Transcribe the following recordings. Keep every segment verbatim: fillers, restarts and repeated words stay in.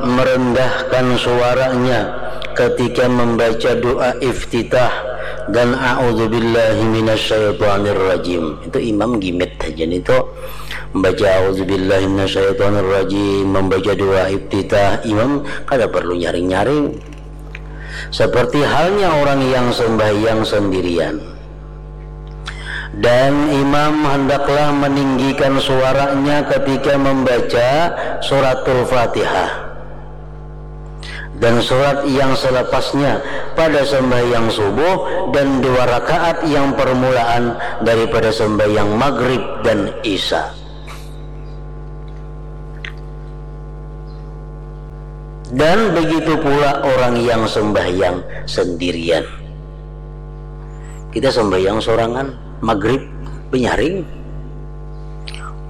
merendahkan suaranya ketika membaca doa iftitah dan a'udzubillahi minasyaitonirrajim. Itu imam gimit saja itu. Membaca a'udzubillahi minasyaitonirrajim, membaca doa iftitah, imam kada perlu nyaring-nyaring. Seperti halnya orang yang sembahyang sendirian. Dan imam hendaklah meninggikan suaranya ketika membaca suratul Fatihah dan surat yang selepasnya pada sembahyang subuh dan dua rakaat yang permulaan daripada sembahyang maghrib dan isya. Dan begitu pula orang yang sembahyang sendirian. Kita sembahyang sorangan, maghrib, benyaring.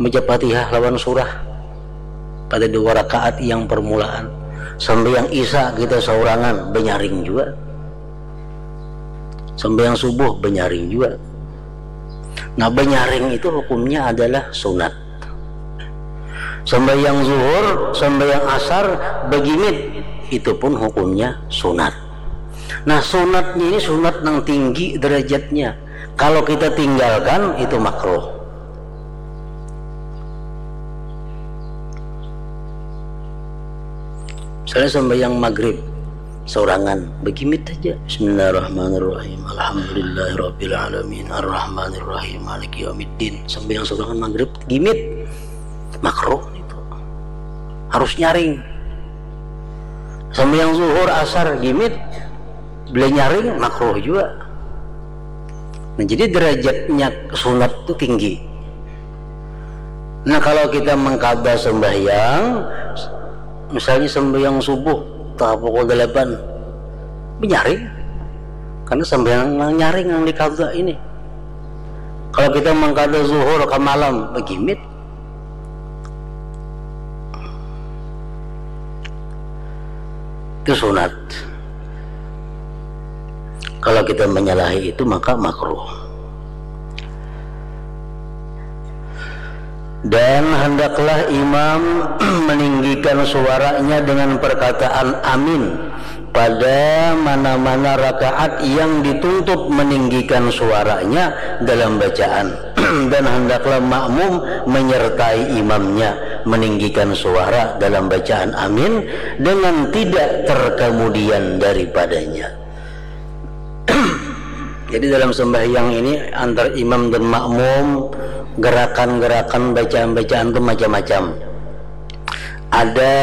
Baca Fatihah lawan surah pada dua rakaat yang permulaan. Sembahyang isya kita sorangan, benyaring juga. Sembahyang subuh, benyaring juga. Nah, benyaring itu hukumnya adalah sunat. Sembahyang zuhur, sembahyang asar, begimit, itu pun hukumnya sunat. Nah, sunatnya ini sunat yang tinggi derajatnya. Kalau kita tinggalkan, itu makruh. Misalnya sembahyang maghrib, sorangan, begimit aja. Bismillahirrahmanirrahim. Alhamdulillahirabbil alamin. Arrahmanirrahim. Maliki yaumiddin. Sembahyang sorangan maghrib, gimit. Makruh itu. Harus nyaring. Sembahyang zuhur, asar, gimit. Bila nyaring, makruh juga. Nah, jadi derajatnya sunat itu tinggi. Nah, kalau kita mengkada sembahyang, misalnya sembahyang subuh, tah pukul delapan, benyaring. Karena sembahyang nang nyaring yang dikada ini. Kalau kita mengkada zuhur ke malam, begimit. Itu sunat. Kalau kita menyalahi itu, maka makruh. Dan hendaklah imam meninggikan suaranya dengan perkataan amin pada mana-mana rakaat yang dituntut meninggikan suaranya dalam bacaan. Dan hendaklah makmum menyertai imamnya meninggikan suara dalam bacaan amin dengan tidak terkemudian daripadanya. Jadi, dalam sembahyang ini, antar imam dan makmum, gerakan-gerakan, bacaan-bacaan itu macam-macam. Ada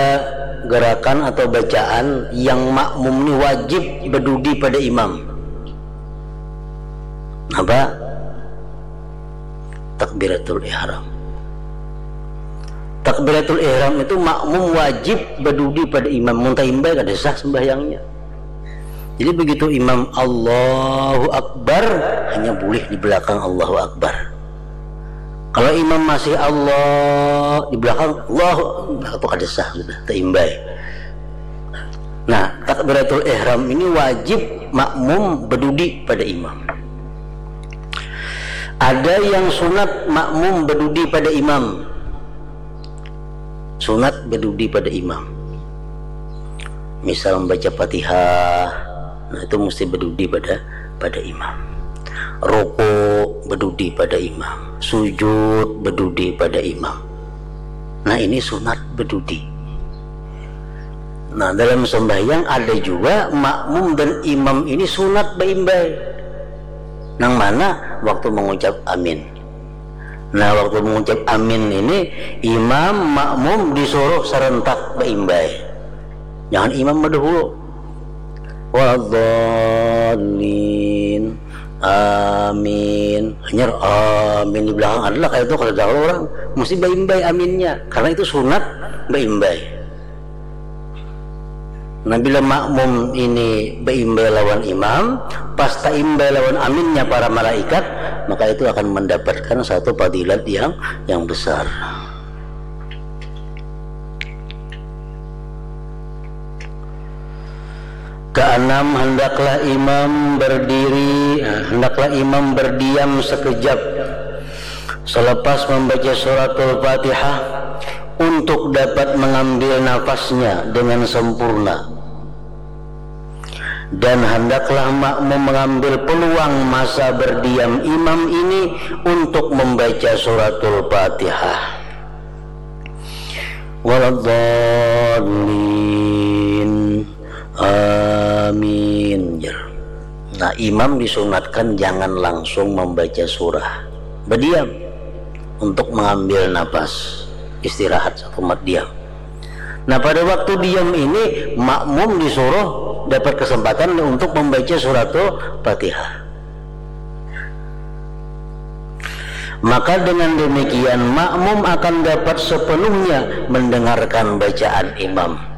gerakan atau bacaan yang makmum ini wajib bedudi pada imam. Apa? Takbiratul ihram. Takbiratul ihram itu makmum wajib bedudi pada imam. Mun taimbai, kada sah sembahyangnya. Jadi, begitu imam Allahu Akbar, hanya boleh di belakang Allahu Akbar. Kalau imam masih Allah, di belakang Allahu, nah, itu kada sah sudah, taimbai. Nah, takbiratul ihram ini wajib makmum bedudi pada imam. Ada yang sunat makmum bedudi pada imam. Sunat bedudi pada imam. Misal membaca Fatihah, nah, itu mesti bedudi pada, pada imam. Ruku bedudi pada imam, sujud bedudi pada imam. Nah, ini sunat bedudi. Nah, dalam sembahyang ada juga makmum dan imam ini sunat beimbai. Nang mana? Waktu mengucap amin. Nah, waktu mengucap amin ini, imam, makmum disuruh serentak beimbai. Jangan imam bedahulu. Waladhdallin. Amin. Hanyar amin di belakang adalah kayak itu, kada tahu orang. Mesti beimbai aminnya. Karena itu sunat beimbai. Nah, bila makmum ini beimbai lawan imam, pas taimbai lawan aminnya para malaikat, maka itu akan mendapatkan satu fadilat yang, yang besar. Keenam, hendaklah imam berdiri, eh, hendaklah imam berdiam sekejap selepas membaca suratul Fatihah untuk dapat mengambil nafasnya dengan sempurna. Dan hendaklah makmum mengambil peluang masa berdiam imam ini untuk membaca suratul Fatihah. Waladdallin. Amin. Nah, imam disunatkan jangan langsung membaca surah. Berdiam untuk mengambil nafas, istirahat satu mat diam. Nah, pada waktu diam ini makmum disuruh dapat kesempatan untuk membaca suratul Fatihah. Maka dengan demikian makmum akan dapat sepenuhnya mendengarkan bacaan imam.